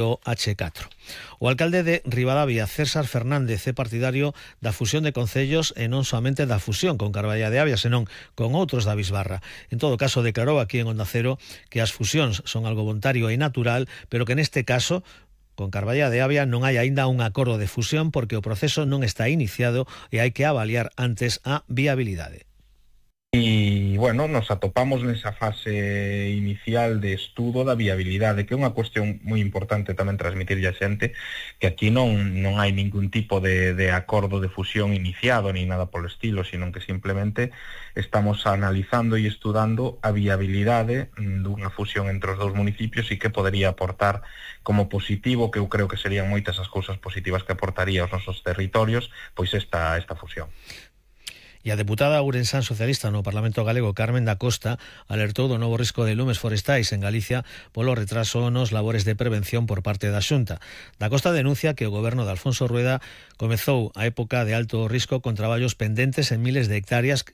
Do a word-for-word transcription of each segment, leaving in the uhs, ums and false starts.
o hache catro. O alcalde de Ribadavia, César Fernández, é partidario da fusión de concellos e non somente da fusión con Carballa de Avia, senón con outros da Bisbarra. En todo caso, declarou aquí en Onda Cero que as fusións son algo voluntario e natural, pero que neste caso con Carballa de Avia non hai aínda un acordo de fusión porque o proceso non está iniciado e hai que avaliar antes a viabilidade. E, bueno, nos atopamos nesa fase inicial de estudo da viabilidade, que é unha cuestión moi importante tamén transmitirlle a xente, que aquí non non hai ningún tipo de, de acordo de fusión iniciado, ni nada polo estilo, sino que simplemente estamos analizando e estudando a viabilidade dunha fusión entre os dous municipios e que podería aportar como positivo, que eu creo que serían moitas as cousas positivas que aportaría aos nosos territorios, pois esta, esta fusión. E a deputada ourensán socialista no Parlamento Galego, Carmen da Costa, alertou do novo risco de lumes forestais en Galicia polo retraso nos labores de prevención por parte da Xunta. Da Costa denuncia que o goberno de Alfonso Rueda comezou a época de alto risco con traballos pendentes en miles de hectáreas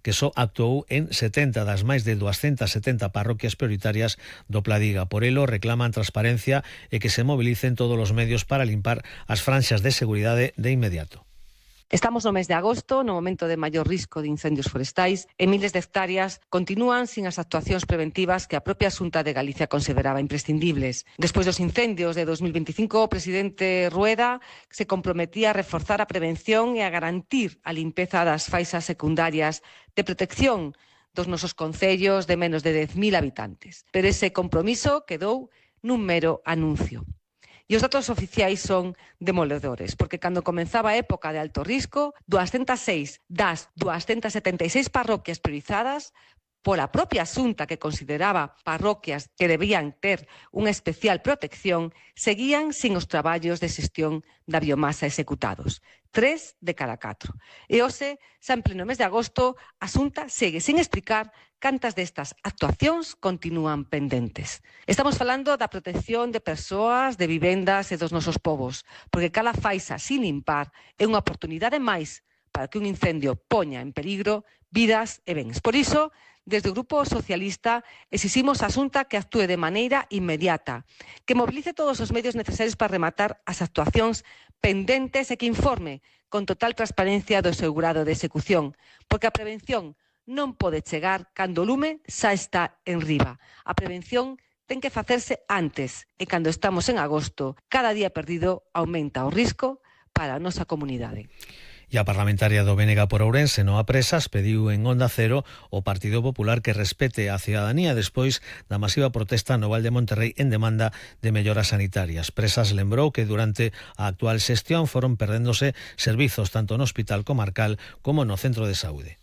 que só actuou en setenta das máis de doscientas setenta parroquias prioritarias do Pladiga. Por elo reclaman transparencia e que se mobilicen todos os medios para limpar as franxas de seguridade de inmediato. Estamos no mes de agosto, no momento de maior risco de incendios forestais, e miles de hectáreas continúan sin as actuacións preventivas que a propia Xunta de Galicia consideraba imprescindibles. Despois dos incendios de dos mil veinticinco, o presidente Rueda se comprometía a reforzar a prevención e a garantir a limpeza das faixas secundarias de protección dos nosos concellos de menos de dez mil habitantes. Pero ese compromiso quedou nun mero anuncio. E os datos oficiais son demoledores, porque cando comenzaba a época de alto risco, doscientas seis das doscientas setenta e seis parroquias priorizadas pola propia Xunta, que consideraba parroquias que debían ter unha especial protección, seguían sin os traballos de xestión da biomasa executados. Tres de cada catro. E hoxe, xa en pleno mes de agosto, a Xunta segue sin explicar cantas destas actuacións continúan pendentes. Estamos falando da protección de persoas, de vivendas e dos nosos povos, porque cada faixa sin limpar é unha oportunidade máis para que un incendio poña en peligro vidas e bens. Por iso, desde o Grupo Socialista exiximos á Xunta que actúe de maneira inmediata, que mobilice todos os medios necesarios para rematar as actuacións pendentes e que informe con total transparencia do seu grado de execución, porque a prevención non pode chegar cando o lume xa está en riba. A prevención ten que facerse antes e cando estamos en agosto, cada día perdido aumenta o risco para a nosa comunidade. E a parlamentaria do B N G por Ourense, Noa Presas, pediu en Onda Cero o Partido Popular que respete a cidadanía despois da masiva protesta no Val de Monterrei en demanda de melloras sanitarias. Presas lembrou que durante a actual xestión foron perdéndose servizos tanto no Hospital Comarcal como no Centro de Saúde.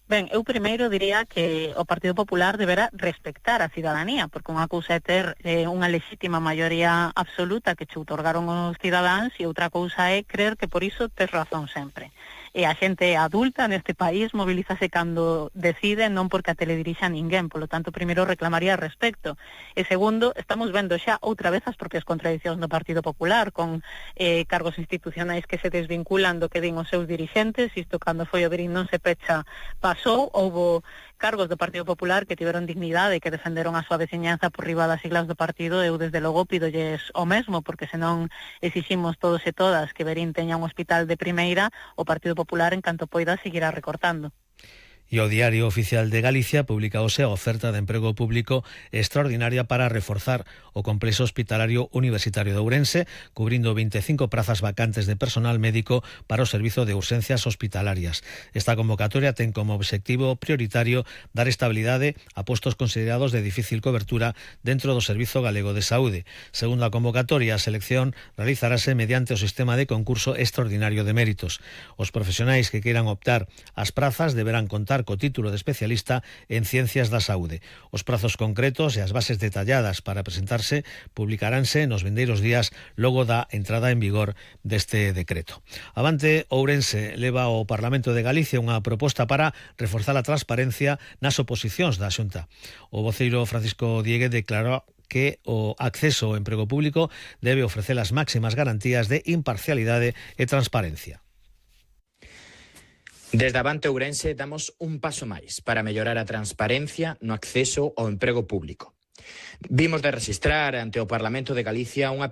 Ben, eu primeiro diría que o Partido Popular deberá respectar a cidadanía, porque unha cousa é ter eh, unha lexítima maioría absoluta que che outorgaron os cidadáns e outra cousa é creer que por iso tes razón sempre. E a xente adulta neste país mobilízase cando decide, non porque a teledirixa ninguén, polo tanto, primeiro reclamaría respecto. E segundo, estamos vendo xa outra vez as propias contradicións do Partido Popular, con eh, cargos institucionais que se desvinculan do que din os seus dirixentes, isto cando foi o Verín non se pecha pasou, houbo cargos do Partido Popular que tiveron dignidade e que defenderon a súa veciñanza por riba das siglas do partido. Eu desde logo pidolles o mesmo, porque senón exiximos todos e todas que Verín teña un hospital de primeira, o Partido Popular en canto poida seguirá recortando. E o Diario Oficial de Galicia publicaose a oferta de emprego público extraordinaria para reforzar o complexo hospitalario universitario de Ourense, cubrindo veinticinco prazas vacantes de personal médico para o servizo de urxencias hospitalarias. Esta convocatoria ten como obxectivo prioritario dar estabilidade a postos considerados de difícil cobertura dentro do Servizo Galego de Saúde. Segundo a convocatoria, a selección realizarase mediante o sistema de concurso extraordinario de méritos. Os profesionais que queiran optar ás prazas deberán contar co título de especialista en Ciencias da Saúde. Os prazos concretos e as bases detalladas para presentarse publicaránse nos vindeiros días logo da entrada en vigor deste decreto. Avante Ourense leva ao Parlamento de Galicia unha proposta para reforzar a transparencia nas oposicións da Xunta. O voceiro Francisco Diegue declarou que o acceso ao emprego público debe ofrecer as máximas garantías de imparcialidade e transparencia. Desde Avante Ourense damos un paso máis para mellorar a transparencia no acceso ao emprego público. Vimos de registrar ante o Parlamento de Galicia unha